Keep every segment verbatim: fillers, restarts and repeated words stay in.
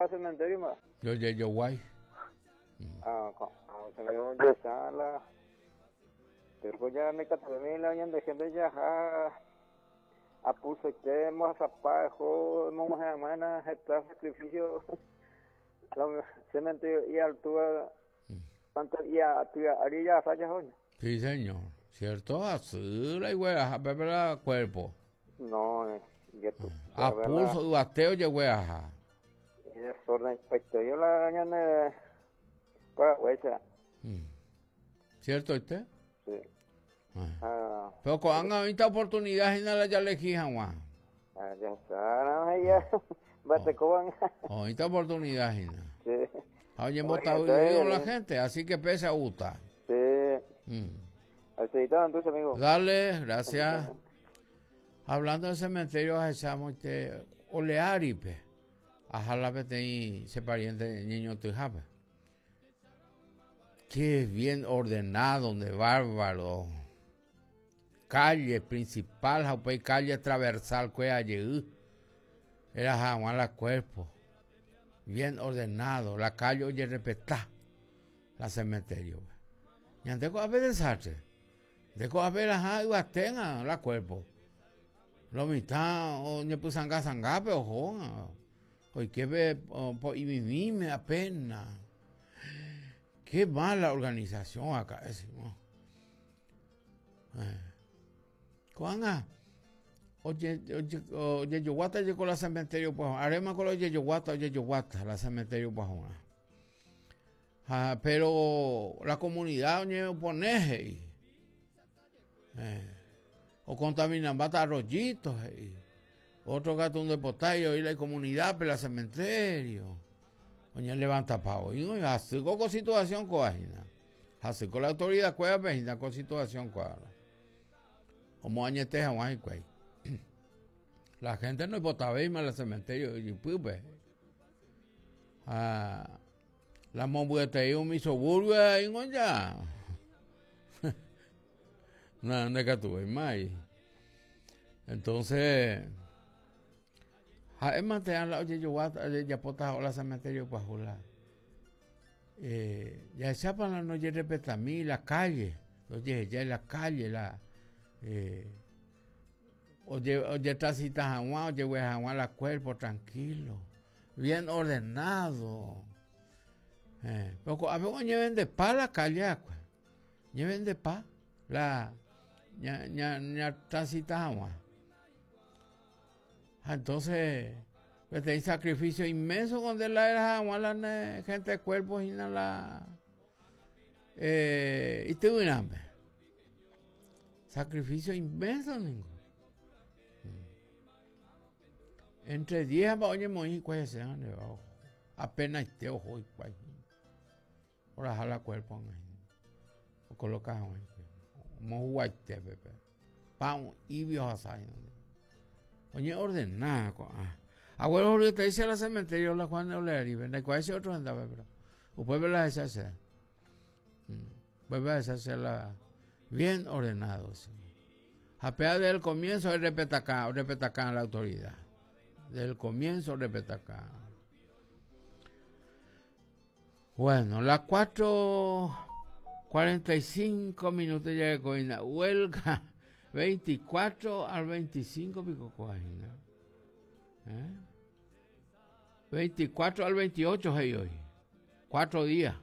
Cementerio ma. Yo yo guay. Ah, se me dio la pero ya me catamí la ñande gente ya ja apuso que hemos zapajo hemos hermana está sacrificio la cementerio y altura tanto y a tu arilla falla hoy. Sí, señor. Cierto, así la igual, pepe cuerpo. No, eh, ya tú. A pulso, duateo, yehueaja. Y desorden, pues yo la ñande para huesa. ¿Cierto usted? Sí. Ah. Pero con esta oportunidad y nada ya le Juan. Ah, ya está, no, ya. Bate coban. Esta oportunidad, Gina. Sí. Oye, hemos estado la gente, así que pese a gusta. Sí. Mm. Entonces, amigo. Dale, gracias. Hablando del cementerio, echamos este olearipe. Ajá, y se pariente niño tujape. Qué bien ordenado, de bárbaro. Calle principal, jaupey calle transversal, que allí. Era jaguar la cuerpo. Bien ordenado, la calle oye respetar la cementerio. Y antes a ver desastre. De a ver ajá y batenga la cuerpo. Lo mitad o ne pusanga sangape ojo. Hoy que ve po y mime apenas. Qué mala organización acá es. Eh. Cuando oye oye oye yo guata llegó la cementerio pues arema con oye yo guata oye yo guata la cementerio pues ah, pero la comunidad oye opone eh, o contaminan bata arroyitos eh. Otro gato un depotario y la comunidad pero la cementerio oye levanta pavo y no así con situación coajina así con la autoridad cueva pejina con situación cuadra como añete jamás y cuey. La gente no botaba más al cementerio y pupe. Ah, la mombuete un mi suburbio ahí no ya. No, no que tuve más. Entonces, ja mantener la oye yo ya pota la cementerio pa jula. Eh, ya chapan la noche respeta a mí la calle, oye ya en la calle la eh oye, oye, tacita jaguá, oye, jaguá la cuerpo tranquilo, bien ordenado. Eh, pero a veces lleven de pa la calle, lleven de pa la ña, ña, ña tacita jaguá. Entonces, pues hay sacrificio inmenso donde la era jaguá, la gente de cuerpo y la eh, y te hambre. Sacrificio inmenso, ninguno. Entre diez oye moí cuál se apenas este ojo y cuál. Por jala cuerpo o coloca mo guaite pepe. Pam y vio asai. Oye ordenada Abuelo ahorita te dice al cementerio la Juan de Oleari, vende cuál ese otro andaba pero o puede la esa vuelve a hacerla bien ordenado. Sí. Apea desde el comienzo el respeta acá, respeta acá a la autoridad. Desde el comienzo respeta acá. Bueno, las cuatro cuarenta y cinco minutos ya de coina. Huelga veinticuatro al veinticinco pico coina. ¿Eh? veinticuatro al veintiocho hey, hoy. Cuatro días.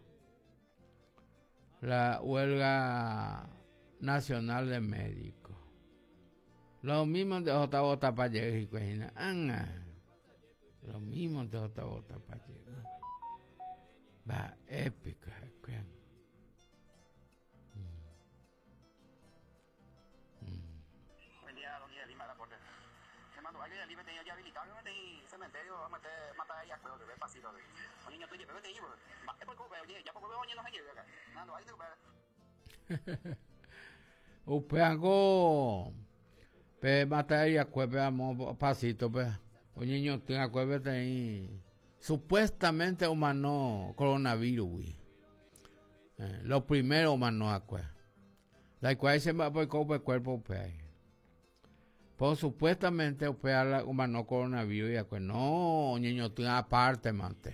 La huelga nacional de médicos. Lo mismo de J. Bota Pacheco. Lo mismo de J. Bota Pacheco. Va, épico. Buen día, don Miguel Lima, reporte. Hermano, alguien de Lima tenía ya habilitado, en cementerio, vamos a matar ahí a cuero, que ve pasito. Un niño tuyo, pero te digo, es por culpa, oye, ya por culpa, oye, no se lleve acá. Nando, ahí te Upeango, pe matar y acueve amo pasito, pe. Un niño tiene acueve ahí. Supuestamente humano coronavirus, eh, lo primero humano acueve. La cual se va por el cuerpo, pe. Pues supuestamente humano coronavirus y acueve. No, niño tiene aparte, mante.